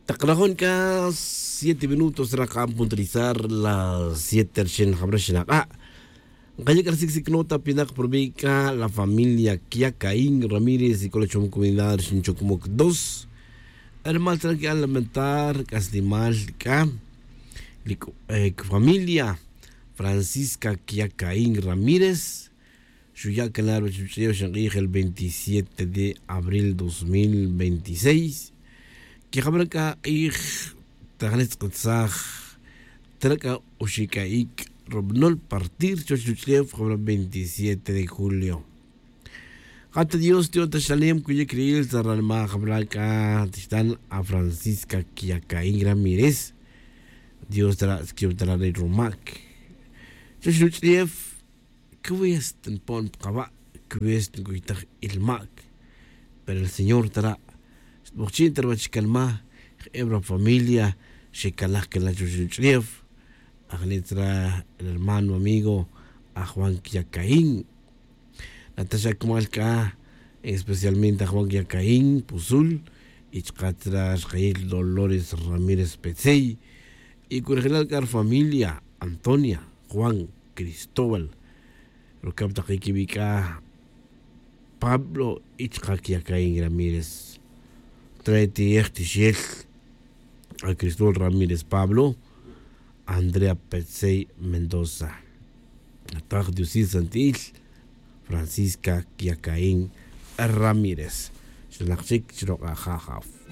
Taqrajonka 7 minutos raqa puntualizar las 7 rxen jamrex naq'a. Nqayek sik nota pinak probica la familia Kiacaín Ramírez y Colechom Comunidad Xinchocmoc 2. Hermal tranqui al lamentar Caslimal Ka familia Francisca Kiacaín Ramírez. Xuya Canar el 27 de abril 2026. Kijabraka ij tajanetz qatzaj traka uxikaik robnol partir chochuchlev 27 de julio. Jata Dios tío tashalem kuye kriil zarralma jabraka tistan a Francisca Kiacaín Ramírez. Dios tra skiotara de Romac. Chochuchlev kwest pon qaba kwest nguytaj ilmak. Pero el Señor tra Bochin terbachkalma ebra familia Shekalaj Kelachuchuchrief Agnetra el hermano amigo a Juan Kiacaín Natasha Kumalka especialmente a Juan Kiacaín Puzul y Chkatra Jair Dolores Ramírez Petzey y Curgelalcar familia Antonia Juan Cristóbal Rukapta Kikibika Pablo Ichka Kiacaín Ramírez Treti Echtixiel a Cristóbal Ramírez Pablo, Andrea Petzey Mendoza, Nataj Diosí Santil, Francisca Kiacaín Ramírez. Xinaqchik Chroqajajaf.